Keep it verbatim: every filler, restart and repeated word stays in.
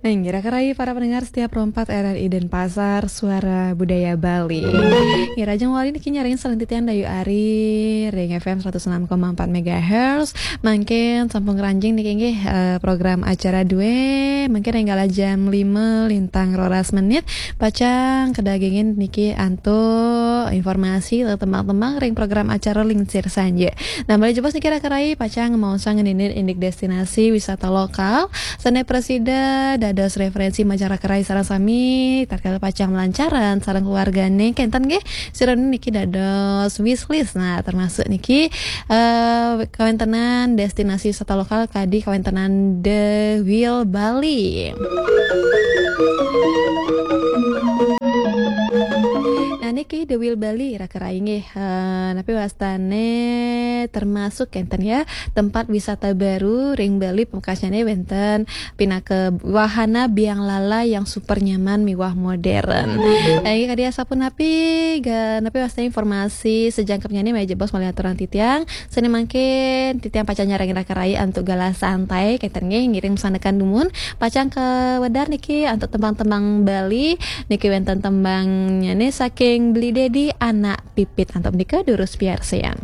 Ngira kerai para pendengar setiap rompat R R I Denpasar, Suara Budaya Bali. Ngira jeng wali niki nyarengin salantian Dayu Ari ring F M seratus enam koma empat megahertz. Mangkin sampun ngranjing niki nggih, eh, program acara due, mangkin ring kala jam lima lintang roras menit, pacang kadagingin niki antuk informasi tembang-tembang ring program acara Lingsir Sanje. Nah, malih jebos niki raka rai pacang maosang ngeninir indik destinasi wisata lokal sane prasida dados referensi majeng raka rai sareng sami tatkala pacang malancaran sareng keluargane kenten nggih. Sira niki dados wishlist. Nah, termasuk niki, eh, kawentenan destinasi wisata lokal kadi kawentenan The Wheel Bali. Nah, niki The Wheel Bali raka rai nggih. Eh, napi wastane termasuk kenten ya, tempat wisata baru ring Bali, pamekasnyane wenten pinaka wahana biang lala yang super nyaman miwah modern. Eh, kadi asapunapi ga, napi wastane informasi sajangkepnyane malih jebos malih aturang titiang. Sane mangkin titiang pacang nyarengin raka rai antuk galah santai kenten nggih, ngiring masandekan dumun pacang kawedar niki antuk tembang-tembang Bali. Niki wenten tembangnyane saking Beli Dedi, Anak Pipit. Antuk menika durus piarsayang.